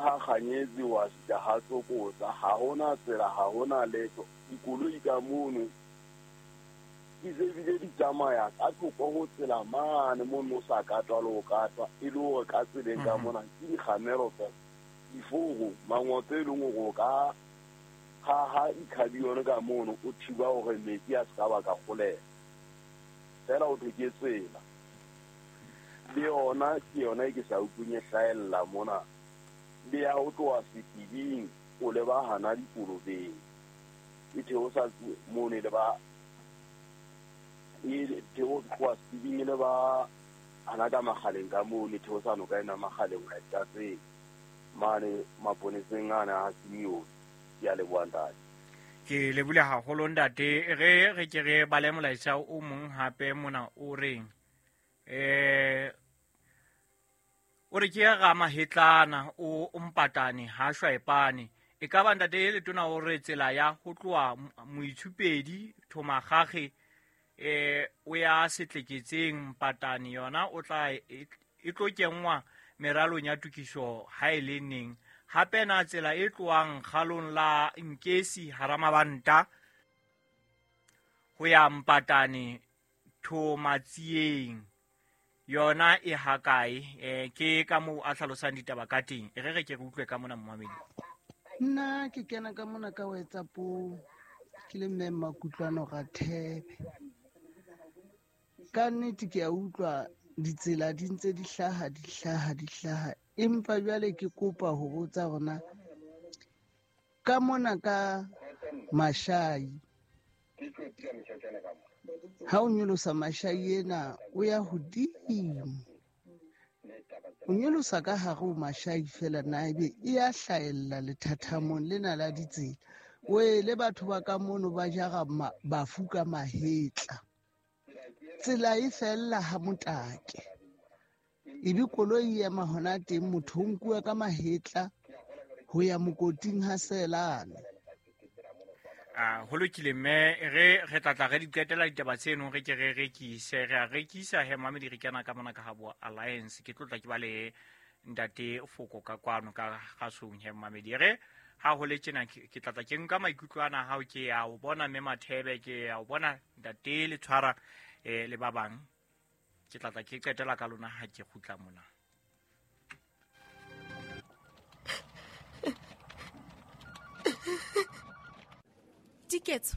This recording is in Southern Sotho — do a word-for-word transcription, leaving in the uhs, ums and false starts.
ha Kganyetsi wa fihla ha Tsokotsa, ha hona tsela, ha hona letho. Dikoloi ka mono di se bile di tsamaya ka thoko ho tsela mane mono o sa katwa le ho katwa, e le hore ka tseleng ka mona ke dikgamelo fela, diforo, mangotse e leng hore o ka haha dikhabione ka mono o thiba hore metsi a se ka ba ka kgoleha. Fela ho thwe ke tsela. Le yona ke yona e ke sa utlweng e hlahella mona. Le ya ho tloha Setibing o leba hana Dikolobeng, e theosa mono e leba, e theosa tloha Setibing e leba hana ka Makgaleng ka mono, e theosa noka ena Makgaleng ho ya Tlatseng mane maponeseng ana a Simeone. Ke a leboha ntate. Ke lebohile haholo ntate. Re re ke re bale molaetsa o mong hape mona o reng, eh o re ke ra mahetlana o mpatane ha shwaepane. E ka ba ntate letona o re tsela ya ho tloha Moitshupedi Thomagage eh o ya Setleketseng Mpatane yona o tla e tlo kenngwa meralong ya tokiso ha e le neng. Hape na tsela e tlohang kgalong la Nkesi hara Mabanta ho ya Mpatane Thomatsieng yona e hakae? Eh ke ka moo a hlalosang ditaba ka teng. E re re ke re utlwe ka mona momamedi. Nna ke kena ka mona ka WhatsApp ke le mme Makutlwano Rathebe. Ka nnete ke a utlwa ditsela di ntse di hlaha, di hlaha, di hlaha. Empa jwale ke kopa ho botsa hore ka mona ka Mashai, ha o nyolosa Mashai ena o ya hodimo, o nyolosa ka hare ho Mashai fela na ebe e ya hlahella lethathamong lena la ditsela. We le batho ba ka mono ba jara bafu ka mahetla, tsela e fella ha motake, ebe koloi e ema hona teng, motho o nkuwa ka mahetla ho ya mokoting ha Selane. Ah, ho lokile mme re re tla tla re di qetela ditaba tseno, re ke re rekise, re a rekisa he mamedi re kena ka mona ka ha bo Alliance. Ke tlotla ke ba le ntate Foko ka kwano ka gasong he mamedi. Re ha ho le tjena ke tla tla ke nka maikutlo ana hao, ke a o bona mme Mathebe, ke a o bona ntate le tshwara eh le ba bang. Ke tla tla ke qetela ka lona ha ke kgutla mona. Diketso,